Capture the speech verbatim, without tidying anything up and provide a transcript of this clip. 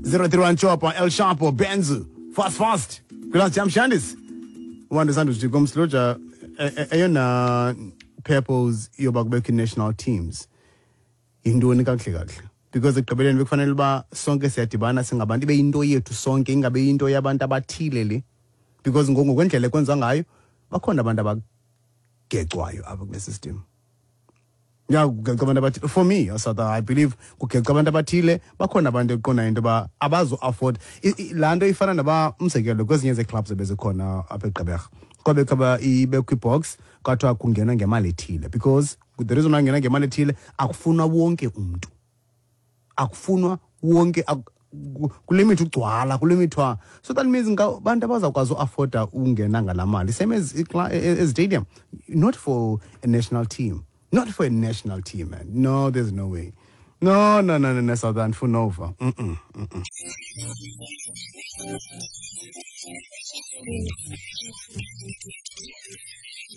Zero three one Chopper, El Chapo, Benzu, fast fast. Kula Jam Shandis. Wanda sandu komsloja eyona purpose yoba kubekho national teams. Yintoni kakuhle kakuhle? Because ekugqibeleni bekufanele uba sonke siyadibana singabantu, ibe yinto yethu sonke, ingabe yinto yabantu abathile le. Because ngoku ngokwendlela ekwenziwa ngayo bakhona abantu abagecwayo apha kule system. Ya, kugeca abantu abathile. For me, South, I believe kugeca abantu abathile. Bakhona abantu ekuqondayo into yoba abazo-afford laa nto. Ifana naba, umzekelo, kwezinye zee-clubs ebezikhona apha eGqeberha, kwabekho aba ibekho i-box, kwathiwa kungenwa ngemali ethile, because the reason why ngena ngemali ethile, akufunwa wonke umntu, akufunwa wonke, ak- ku- kulimithwa ugcwala, kulimithwa. So that means abantu abazawukwazi uafforda ungena ngalaa mali, same as icla- e- e- stadium. Not for a national team, not for a national team, man. No, there's no way. No, no, no, no, no, South, andifuna uva. mm -mm, mm -mm.